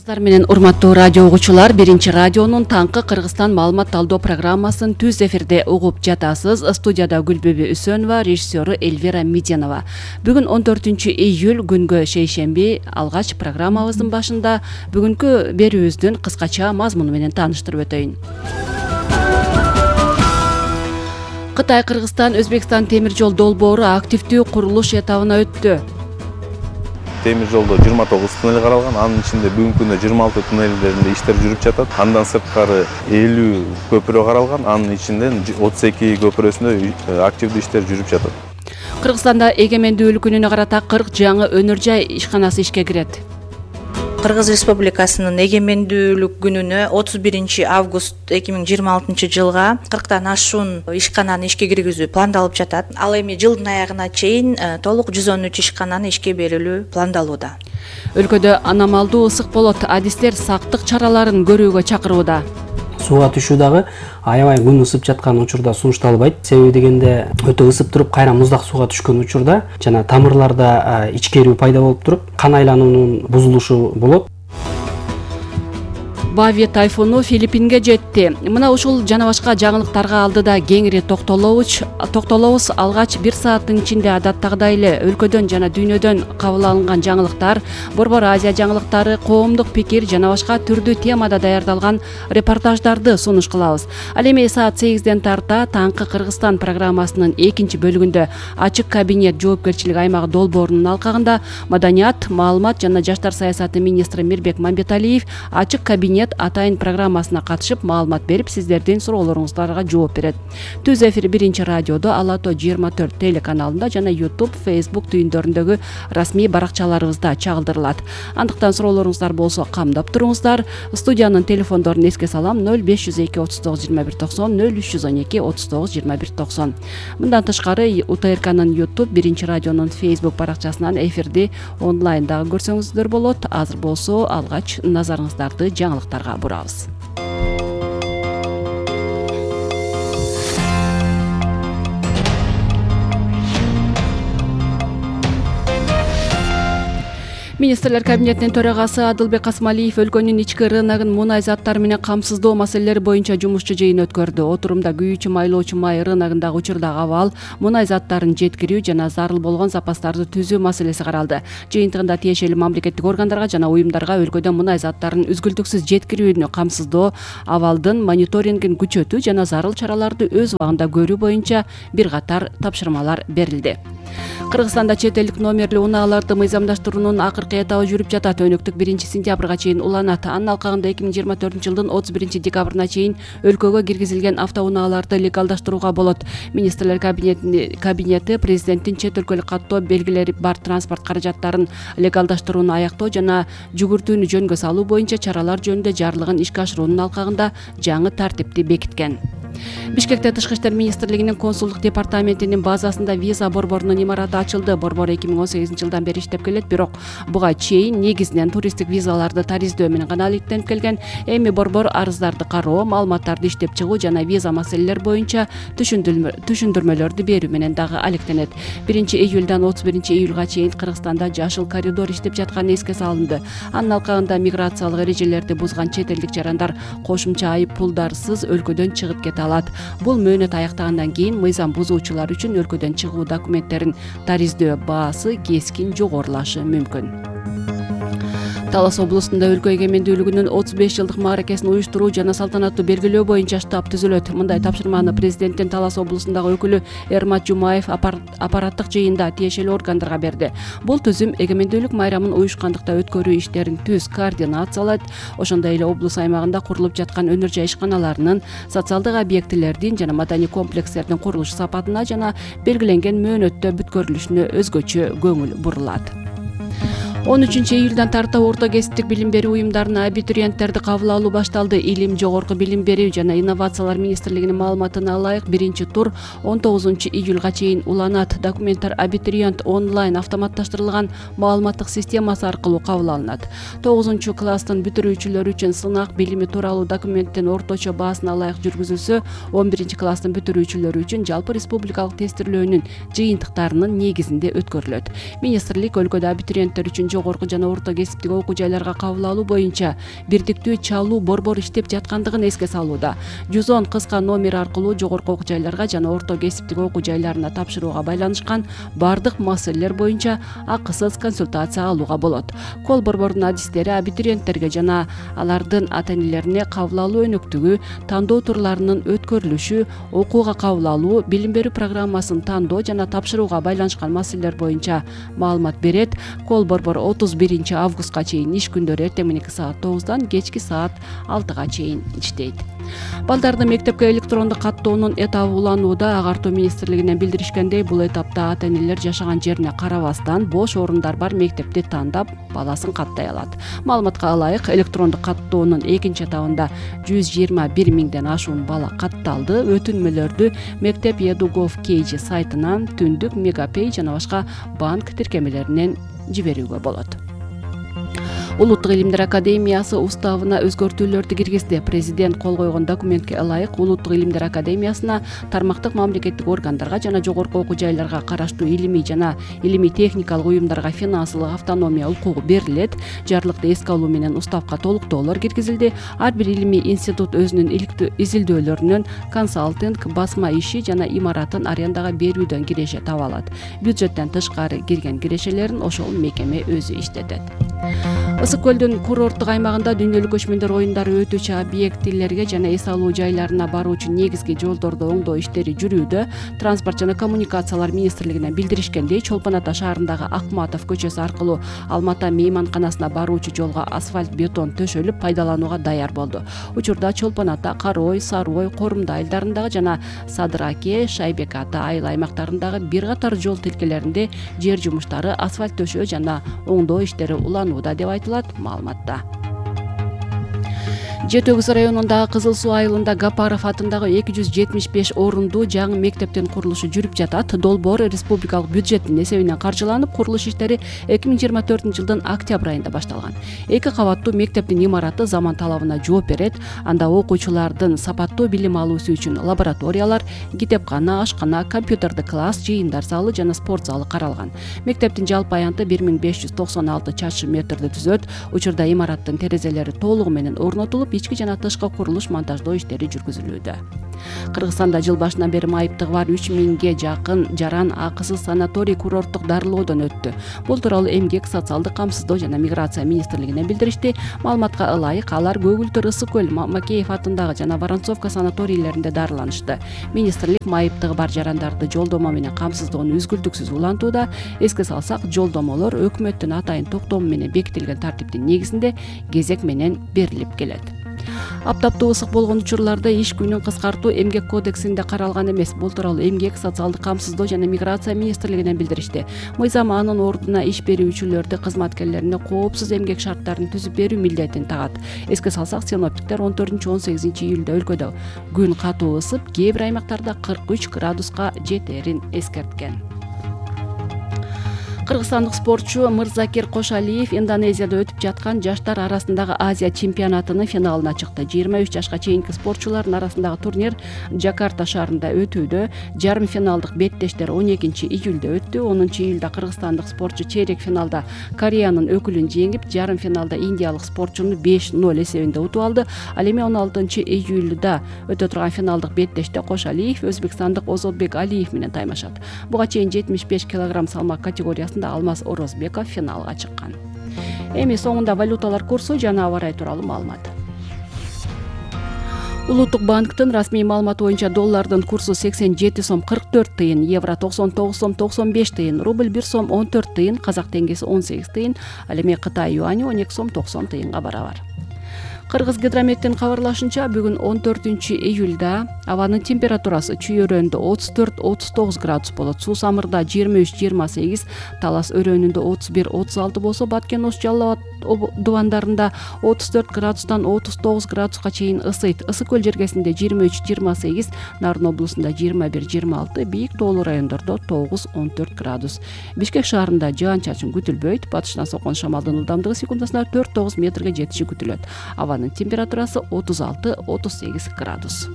Армысыздар менен урматтуу радио угуучулар, биринчи радионун таңкы Кыргызстан маалымат талдоо программасын түз эфирде угуп жатасыз. Студияда Гүлбүбү Үсөнова, режиссеру Эльвира Меденова. Бүгүн 14 июль күнгө шейшемби. Алгач программабыздын башында бүгүнкү берүүбүздүн кыскача мазмуну менен тааныштырып өтөйүн. Кытай-Кыргызстан Өзбекстан темир жол долбоору активдүү курулуш этабына өттү. Темир жолдо 29 туннель каралган, анын ичинде бүгүнкү күндө 26 туннелдеринде иштер жүрүп жатат. Андан сырткары 50 көпүрө каралган, анын ичинен 32 көпүрөсүндө активдүү иштер жүрүп жатат. Кыргызстанда эгемендүүлүк күнүнө карата 40 жаңы өнөр жай ишканасы ишке кирет. Кыргыз Республикасынын эгемендүүлүк күнүнө 31 август 2026 жылга 40тан ашуун ишкананы ишке киргизүү пландалып жатат. Ал эми жылдын аягына чейин толук 113 ишкананы ишке берилүү пландалууда. Өлкөдө аномалдуу ысык болот. Адистер сактык чараларын көрүүгө чакырууда. Сууга түшүү дагы аябай күн ысып жаткан учурда сунушталбайт. Себеби дегенде өтө ысып туруп кайра муздак сууга түшкөн учурда жана тамырларда ичкерүү пайда болуп туруп кан айлануунун бузулушу болот. Бави тайфуну Филиппинге жетти. Мына ушул жана башка жаңылыктарга алдыда кеңири токтолобуз. Алгач 1 сааттын ичинде адаттагыдай эле өлкөдөн жана дүйнөдөн кабыл алынган жаңылыктар, Борбор Азия жаңылыктары, коомдук пикир жана башка түрдүү темада даярдалган репортаждарды сунуш кылабыз. Ал эми саат 8ден тарта таңкы Кыргызстан программасынын экинчи бөлүгүндө ачык кабинет жоопкерчилик аймагы долбоорунун алкагында маданият, маалымат жана жаштар саясаты министри Мирбек Мамбеталиев ачык кабинет атайын программасына катышып маалымат берип, сиздердин суроолоруңуздарга жооп берет. Түз эфир биринчи радиодо Ала Тоо 24 телеканалында жана YouTube, Facebook түйүндөрүндөгү расмий баракчаларыбызда чагылдырылат. Андыктан суроолоруңуздар болсо камдап туруңуздар. Студиянын телефондорун эске салам: 0502 39 21 90, 0312 39 21 90. Мындан тышкары УТРКнын YouTube, биринчи радионун Facebook баракчасынан эфирди онлайн дагы көрсөңүздөр болот. Азыр болсо алгач назарыңыздарды жаңылыктарга бурабыз. Министрлер кабинетинин төрагасы Адылбек Касмалиев өлкөнүн ички рыногун мунай заттары менен камсыздоо маселелери боюнча жумушчу жыйын өткөрдү. Отурумда күйүүчү майлоочу май рыногундагы учурдагы абал, мунай заттарын жеткирүү жана зарыл болгон запастарды түзүү маселеси каралды. Жыйынтыгында тиешелүү мамлекеттик органдарга жана уюмдарга өлкөдө мунай заттарын үзгүлтүксүз жеткирүүнү камсыздоо, абалдын мониторингин күчөтүү жана зарыл чараларды өз убагында көрүү боюнча бир катар тапшырмалар берилди. Кыргызстанда чет элдик номерлүү унааларды мыйзамдаштыруунун акыркы этабы жүрүп жатат. Өнөктүк 1-сентябрга чейин уланат. Анын алкагында 2024 жылдын 31-декабрына чейин өлкөгө киргизилген автоунааларды легалдаштырууга болот. Министрлер кабинети президенттин чет өлкөлүк каттоо белгилери бар транспорт каражаттарын легалдаштырууну аяктоо жана жүгүртүүнү жөнгө салуу боюнча чаралар жөнүндө жарлыгын ишке ашыруунун алкагында жаңы тартипти бекиткен. Бишкекте Тышкы иштер министрлигинин консулдук департаментинин базасында виза борборунун имараты ачылды. Борбор 2018 жылдан бери иштеп келет, бирок буга чейин негизинен туристтик визаларды тариздөө менен гана алектенип келген. Эми борбор арыздарды кароо, маалыматтарды иштеп чыгуу жана виза маселелери боюнча түшүндүрмөлөрдү берүү менен дагы алектенет. 1-июлдан 31-июлга чейин Кыргызстанда жашыл коридор иштеп жатканы эске салынды. Анын алкагында миграциялык эрежелерди бузган чет элдик жарандар кошумча айып пулдарсыз өлкөдөн чыгып кете алат. Бул мөөнөт аяктагандан кийин мыйзам бузуучулар үчүн өлкөдөн чыгуу документтерин тариздөө баасы кескин жогорулашы мүмкүн. Талас облусунда өлкө эгемендүүлүгүнүн 35 жылдык мааракесин уюштуруу жана салтанаттуу белгилөө боюнча штаб түзүлөт. Мындай тапшырманы президенттин Талас облусундагы өкүлү Эрмат Жумаев аппараттык жыйында тиешелүү органдарга берди. Бул түзүм эгемендүүлүк майрамын уюшкандыкта өткөрүү иштерин түз координациялайт. Ошондой эле облус аймагында курулуп жаткан өнөр жай ишканаларынын, социалдык объектилердин жана маданий комплекстердин курулуш сапатына жана белгиленген мөөнөттө бүткөрүлүшүнө өзгөчө көңүл бурулат. 13 июлдан тарта орто кесиптик билим берүү уюмдарына абитуриенттерди кабыл алуу башталды. Илим, жогорку билим берүү жана инновациялар министрлигинин маалыматына ылайык 1 тур 19 июлга чейин уланат. Документтер абитуриент онлайн автоматташтырылган маалыматтык системасы аркылуу кабыл алынат. 9 класстын бүтүрүүчүлөрү үчүн сынак билими тууралуу документтин орточо баасына ылайык жүргүзүлсө, 11 класстын бүтүрүүчүлөрү үчүн жалпы республикалык тестирлөөнүн жыйынтыктарынын негизинде өткөрүлөт. Министрлик өлкөдө абитуриенттер үчүн жогорку жана орто кесиптик окуу жайларга кабыл алуу боюнча бирдиктүү чалуу борбору иштеп жаткандыгын эске салууда. 110 кыска номер аркылуу жогорку окуу жайларга жана орто кесиптик окуу жайларына тапшырууга байланышкан бардык маселелер боюнча акысыз консультация алууга болот. Кол борборунун адистери абитуриенттерге жана алардын ата-энелерине кабыл алуу өнөктүгү, тандоо турларынын өткөрүлүшү, окууга кабыл алуу, билим берүү программасын тандоо жана тапшырууга байланышкан маселелер боюнча маалымат берет. Кол борбор 31 августка чейин иш күндөрү эртең мененки саат 9-дан кечки саат 6-га чейин иштейт. Балдарды мектепке электрондук каттоонун этабы уланууда. Агартуу министрлигинен билдиришкендей, бул этапта ата-энелер жашаган жерине карабастан бош орундар бар мектепти тандап баласын каттай алат. Маалыматка ылайык, электрондук каттоонун экинчи этабында 121 миңден ашуун бала катталды. Өтүнмөлөрдү мектеп edu.gov.kg сайтынан, Түндүк, Мегапей жана башка банк тиркемелеринен жиберүүгө болот. Улуттук илимдер академиясы уставына өзгөртүүлөрдү киргизди. Президент кол койгон документке ылайык Улуттук илимдер академиясына тармактык мамлекеттик органдарга жана жогорку окуу жайларга караштуу илимий жана илимий техникалык уюмдарга финансылык автономия укугу берилет. Жарлыкты эске алуу менен уставка толуктоолор киргизилди. Ар бир илимий институт өзүнүн иликтүү изилдөөлөрүнөн консалтинг, басма иши жана имаратын арендага берүүдөн киреше таба алат. Бюджеттен тышкары кирген кирешелерин ошол мекеме өзү иштетет. Ысык көлдүн курорттук аймагында дүйнөлүк көчмөндөр оюндары өтүүчү объектилерге жана эс алуу жайларына баруучу негизги жолдорду оңдоо иштери жүрүүдө. Транспорт жана коммуникациялар министрлигинен билдиришкендей, Чолпон Ата шаарындагы Акматов көчөсү аркылуу Алмата мейманканасына баруучу жолго асфальт бетон төшөлүп пайдаланууга даяр болду. Учурда Чолпон Ата, Карой, Сарой, Корумда айылдарындагы жана Садыраке, Шайбек Ата айыл аймактарындагы бир катар жол тилкелеринде жер жумуштары, асфальт төшөө жана оңдоо иштери уланууда деп айтылат маалыматта. Жети Өгүз районундагы Кызыл Суу айылында Гапаров атындагы 275 орундуу жаңы мектептин курулушу жүрүп жатат. Долбоор республикалык бюджеттин эсебинен каржыланып, курулуш иштери 2024-жылдын октябрь айында башталган. 2 кабаттуу мектептин имараты заман талабына жооп берет. Анда окуучулардын сапаттуу билим алуусу үчүн лабораториялар, китепкана, ашкана, компьютердик класс, жыйындар залы жана спорт залы каралган. Мектептин жалпы аянты 1596 чарчы метрди түзөт. Учурда имараттын терезелери толугу менен орнотулуп, ички жана тышкы курулуш монтаждоо иштери жүргүзүлүүдө. Кыргызстанда жыл башынан бери майыптыгы бар 3000ге жакын жаран акысыз санаторий курорттук дарылоодон өттү. Бул тууралуу Эмгек, социалдык камсыздоо жана миграция министрлигинен билдиришти. Маалыматка ылайык, алар Көгүлтүр, Ысык көл, Макеев атындагы жана Воронцовка санаторийлеринде дарыланышты. Министрлик майыптыгы бар жарандарды жолдомо менен камсыздоону үзгүлтүксүз улантууда. Эске салсак, жолдомолор өкмөттүн атайын токтому менен бекитилген тартиптин негизинде кезек менен берилип келет. Аптаптуу ысык болгон учурларда иш күнүн кыскартуу Эмгек кодексинде каралган эмес. Бул тууралуу Эмгек, социалдык камсыздоо жана миграция министрлигинен билдиришти. Мыйзам анын ордуна иш берүүчүлөрдү кызматкерлерине коопсуз эмгек шарттарын түзүп берүү милдетин тагат. Эске салсак, синоптиктер 14-18 июлда өлкөдө күн катуу ысып, кээ бир аймактарда 43 градуска жетерин эскерткен. Кыргызстандык спортчу Мырзакир Кошалиев Индонезияда өтүп жаткан жаштар арасындагы Азия чемпионатынын финалына чыкты. 23 жашка чейинки спортчулардын арасындагы турнир Жакарта шаарында өтүүдө. Жарым финалдык беттештер 12 июлда өттү. 10 июлда кыргызстандык спортчу чейрек финалда Кореянын өкүлүн жеңип, жарым финалда индиялык спортчуну 5-0 эсебинде утуп алды. Ал эми 16 июлда өтө турган финалдык беттеште Кошалиев өзбекстандык Озодбек Алиев менен таймашат. Буга чейин 75 кг салмак категориясында Алмаз Орозбеков финалга чыккан. Эми соңунда валюталар курсу жана аба ырайы тууралуу маалымат. Улуттук банктын расмий маалыматы боюнча доллардын курсу 87 сом 44 тыйын, евро 99 сом 95 тыйын, рубль 1 сом 14 тыйын, казак теңгеси 18 тыйын, ал эми Кытай юани 12 сом 90 тыйынга барабар. Кыргыз гидрометтин кабарлашынча, бүгүн 14 июлда абанын температурасы Чүй өрөөнүндө 34-39 градус болот, Суу Самырда 23-28, Талас өрөөнүндө 31-36 болсо, Баткен Ош Жалал Абад дубандарында 34 градустан 39 градуска чейин ысыйт. Ысык көл жергесинде 23-28, Нарын облусунда 21-26, бийик тоолуу райондордо 9-14 градус. Бишкек шаарында жаан-чачын күтүлбөйт, батыштан соккон шамалдын ылдамдыгы секундасына 4-9 метрге жетиши күтүлөт. Абанын температурасы 36-38 градус.